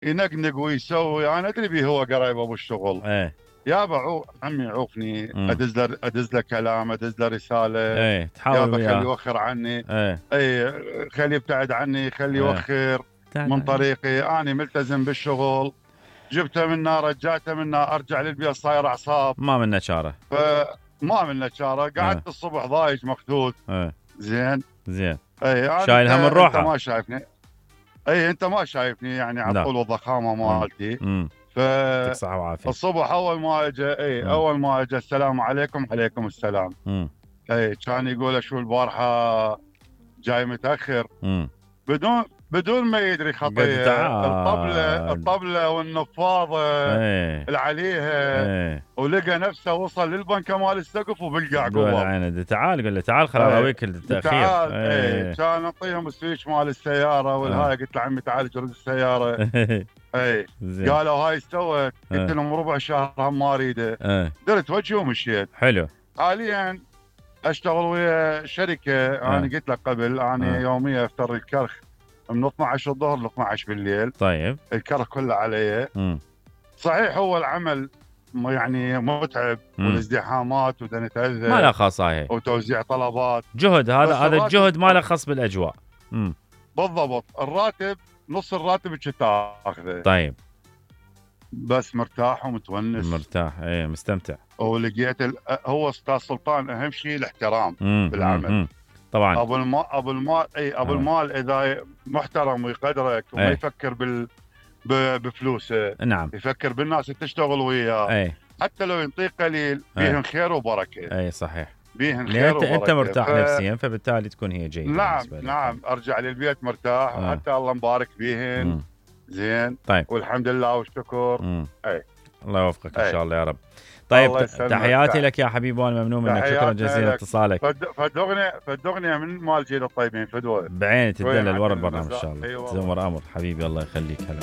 ينقنق ويسوي. انا ادري بيه هو قرايب ابو الشغل. ايه يابا عمي عوفني، مم. ادز له كلام، ادز له رساله. ايه تحاول يابا خلي وياه. يوخر عني. ايه اي خلي يبتعد عني، خلي ايه يوخر لا من لا. طريقي. انا ملتزم بالشغل، جبته منا رجعته منا، ارجع للبيت صاير اعصاب. ما منا شاره. فما منا شاره. ايه قعدت الصبح ضايج مخدود. ايه زين. زين. اي انا شايل هم انت الروحه. ما شايفني. اي انت ما شايفني يعني على لا. الطول والضخامه مالتي. يعطيك صحه وعافيه. فالصبح اول ما اجى اول ما اجى السلام عليكم. عليكم السلام. كان يقول شو البارحه جاي متاخر. بدون ما يدري خطيه. الطبله والنفاضه اللي عليها. ولقى نفسه وصل للبنكه مال السقف وبالقع قول قوه. عينه تعال، قول له تعال خل اراويك التاخير. تعال. كان اعطيهم السويتش مال السياره والهاي. قلت له عمي تعال جرد السياره. قالوا هاي استوت. قلت لهم ربع شهر هم ما اريده. درت وجهي ومشيت. حلو. حاليا اشتغل ويا شركه. انا قلت لك قبل انا يوميا افتر الكرخ من 12 الظهر ل 12 بالليل. طيب. الكرخ كله علي. صحيح هو العمل يعني متعب والازدحامات ونتاذى. ما له خاص هاي. وتوزيع طلبات. جهد. هذا الجهد ما له خاص بالاجواء. بالضبط. الراتب نص الراتب اللي تاخذه. طيب. بس مرتاح ومتونس. مرتاح. مستمتع. ولقيت هو استاذ سلطان اهم شيء الاحترام بالعمل. طبعا. ابو المال اذا محترم ويقدرك وما يفكر بفلوسه. نعم. يفكر بالناس اللي تشتغل وياه. حتى لو ينطيك قليل بيهن خير وبركه. صحيح. بيهن خير وبركه. انت مرتاح نفسيا فبالتالي تكون هي جيده. نعم ارجع للبيت مرتاح. حتى الله مبارك بيهن. زين. طيب. والحمد لله والشكر. الله يوفقك ان شاء الله يا رب. طيب تحياتي لك يا حبيبي وانا ممنون منك. شكرا جزيلا اتصالك. فدغني من مال جيل الطيبين فدوه بعيني تدلل ورا البرنامج ان شاء الله. تزمر امر حبيبي الله يخليك. هلا.